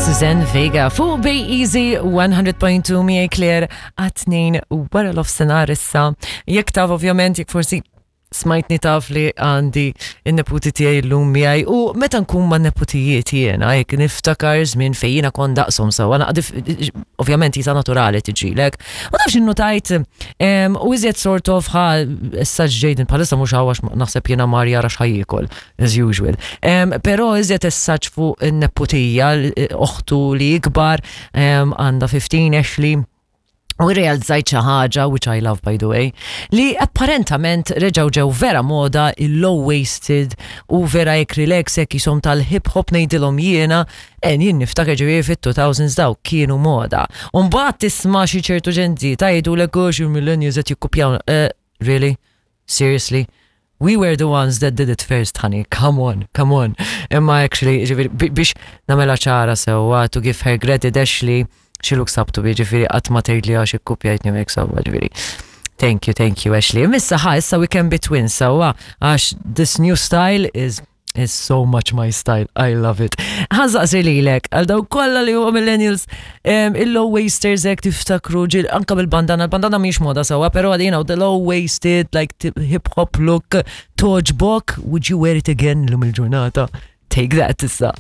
Suzanne Vega fuq Bay Easy 100.2 miegħi Claire għat-tnejn wara l-ofsenar issa. Jekk taf ovvjament jekk forsi smajtni taf li għandi in-neputi tiegħi llum miegħi u meta nkun ma' neputijiet jiena jekk niftakar żmien fejn jiena kont daqshom sewwa naqdif ovvjament jisa naturali tiġilek. Ma nafx innutajt u iżjed sort of ħa issa Jaden bħalissa mhux hawn għax naħseb jiena mar jara x'ħa jiekol as usual. Però iżjed essaġġ fuq in-neputija oħtu li ikbar għandha 15 Ashley U realizzajt xi ħaġa, which I love by the way, li apparentament reġgħu ġew vera moda il-low waisted u vera jekk relax hekk jisom tal-hip hop ngħidilhom jiena, en jien niftakar ġifieri fit-2000s daw kienu moda. U mbagħad tisma' xi ċertu ġenti ta' jgħidulek għax il-millennials qed jikkupjaw. Eh, really? Seriously? We were the ones that did it first, honey. Come on, come on. Imma actually, ġifiri, biex namela ċara sewa, to give her credit, Ashley, she looks up to me, ġifiri, qatt ma tgħidli għax ikkupjajtni u hekk sewwa, ġifiri. Thank you, thank you, Ashley. Missa ħa, issa we can be twins, sewwa, għax this new style is is so much my style. I love it. Ħansaqsi lilek, għal daw kollha li huwa millennials, il-low wasters hekk tiftakru ġil anka bil-bandana, il-bandana mhix moda sewwa, però you know, the low waisted like hip hop look toġbok, would you wear it again lum il-ġurnata? Take that issa.